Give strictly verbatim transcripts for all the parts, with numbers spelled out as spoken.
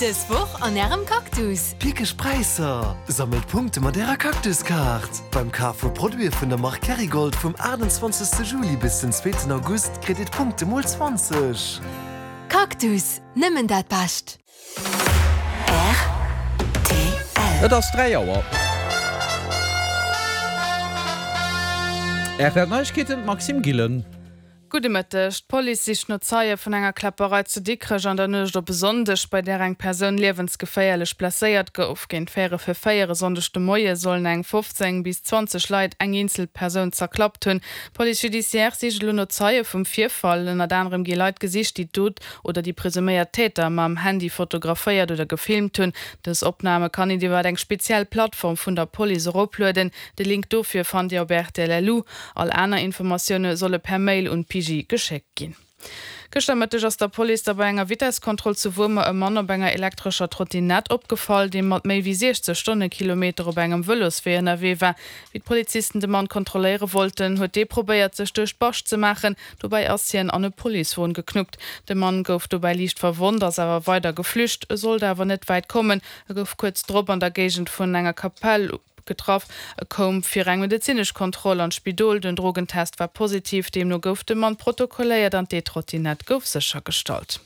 Dës Woch an Ärem Cactus. Pickeg Präisser! Sammelt Punkte mat Ärer Cactus-Kaart! Beim Kaf vu Produite vun der Mark Kerrygold vum aachtundzwanzegste Juli bis den zweeten August kritt Dir d'Punkte mol zwanzeg. Cactus, nëmmen dat Bescht! Rtl. Et ass dräi Auer. R T L Neiegkeeten, Maxime Gillen. Gudde Mëtteg. D'Police sicht no Zeie vun enger Kläpperei zu Dikrech an der Nuecht op e Sonndeg, bei där eng Persoun liewensgeféierlech blesséiert gouf. Géint véierel vir véier e Sonndeg de Moie sollen eng fofzéng bis zwanzeg Leit eng eenzel Persoun zerklappt hunn. D'Police judiciaire sicht elo no Zeie vum Virfall. Ënnert anerem gi Leit gesicht, déi d'Dot oder déi presuméiert Täter mam Handy fotograféiert oder gefilmt hunn. Dës Opname kann een iwwer eng speziell Plattform vun der Police eroplueden. De Link dofir fannt Dir op rtl.lu. All aner Informatioune solle per Mail un d'P G geschéckt ginn. Gëschter Mëtteg ass der Police da bei enger Vitesskontroll zu Wuermer e Mann op enger elektrescher Trottinett opgefall, dee mat méi wéi siechzeg Stonnekilometer op engem Vëloswee ënnerwee war. Wéi d'Polizisten de Mann kontrolléiere wollten, huet dee probéiert, sech duerch d'Bascht ze maachen. Dobäi ass hien an e Policewon geknuppt. De Mann gouf dobäi liicht verwonnt, ass awer weider geflücht. E sollt awer net wäit kommen, e gouf kuerz drop an der Géigend vun enger Kapell getraff. E koum fir eng medezinesch Kontroll an d'Spidol. Den Drogentest war positiv, deemno gouf de Mann protokolléiert an d'E-Trottinett gouf séchergestallt.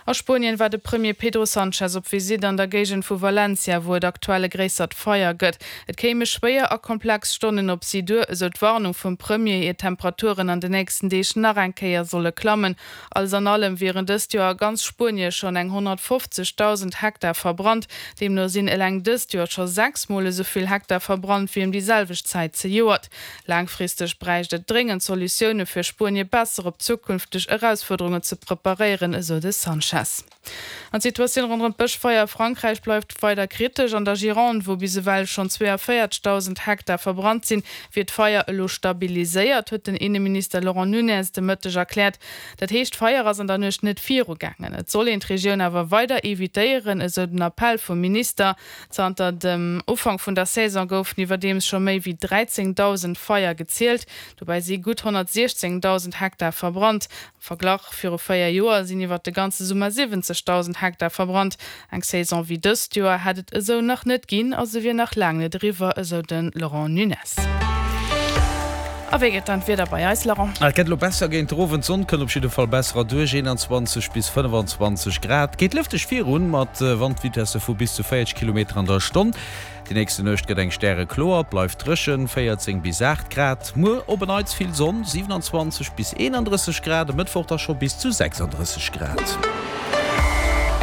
A Spuenien war de Premier Pedro Sanchez op Visitt an der Géigend vu Valencia, wou et aktuell e gréissert Feier gëtt. Et kéime schwéier a komplex Stonnen op si duer, esou d'Warnung vum Premier, ier d'Temperaturen an den nächsten Deeg nach eng Kéier solle klammen. Alles an allem wieren dëst Joer a ganz Spuenie schonn eng honnertfofzegdausend Hektar verbrannt. Deemno sinn eleng dëst Joer scho sechs Mol esou vill Hektar verbrannt wéi ëm déi selwecht Zäit zejoert. Laangfristeg bräicht et dréngend Solutioune fir Spuenie besser op zukünfteg Erausfuerderungen ze preparéieren, esou de Sanchez. An d'Situatioun ronderëm d'Bëschfeier a Frankräich bleift weider kritesch. An der Gironde, wou bis ewell schonn zweeënvéierzegdausend Hektar verbrannt sinn, wier d'Feier elo stabiliséiert, huet den Inneminister Laurent Nunez de Mëtteg erkläert. Dat heescht, d'Feier ass an der Nuecht net virugaangen. Et soll een d'Regioun awer weider evitéieren, esou den Appell vum Minister. Zanter dem Ufank vun der Saison goufen iwwerdeems scho méi wéi dräizéngdausend Feier gezielt. Dobäi si gutt honnertsiechzéngdausend Hektar verbrannt. Am Verglach, Viru véier Joer sinn iwwer de ganze Summer siwwenzegdausend Hektar verbrannt. Eng Saison wéi dëst Joer hätt et esou nach net ginn a se wier nach laang net eriwwer, esou de Laurent Nunez. A wéi gëtt dann d'Wieder bei eis, Laurent? Et gëtt elo besser géint den Owend, d'Sonn kënnt op jidde Fall besser erduerch, eenanzwanzeg bis fënnfanzwanzeg Grad. Geet lëfteg virun, mat Wandvitesse vu bis zu véierzeg Kilometer an der Stonn. Déi nächste Nuecht gëtt eng stärekloer, et bleift dréchen, véierzéng bis aacht Grad. Muer op en Neits vill Sonn, siewenanzwanzeg bis eenandrësseg Grad, e Mëttwoch da scho bis zu sechsandrësseg Grad.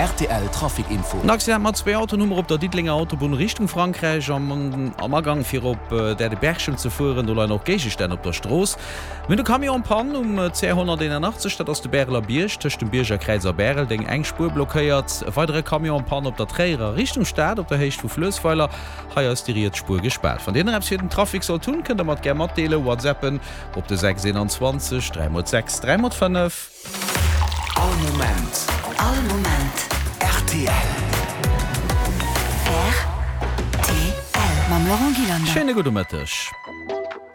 R T L Trafic Info. En Accident mat zwee Autoen hu mer op der Diddelenger Autobunn Richtung Frankräich am am Agang fir op Däerdeberchem ze fueren. Do leien och Géigestänn op der Strooss. Mir hunn e Camion en panne um C honnerteenanachtzeg, dat ass de Bäreler Bierg, tëscht dem Bierger Kräiz a Bäreldeng, eng Spuer blockéiert. E weidere Camion en panne op der Tréierer Richtung Stad op der Héicht vu Fluessweiler. Hei ass déi riets Spuer gespaart. Wann Dir nach eppes fir den Trafic sollt hunn, kënnt der mer et gär matdeelen. WhatsAppen op de sechs eenanzwanzeg dräi mol sechs dräi mol fënnef. All Moment. All Moment. R T L. R T L. Mam Laurent Gillander. Schéine gudde Mëtteg.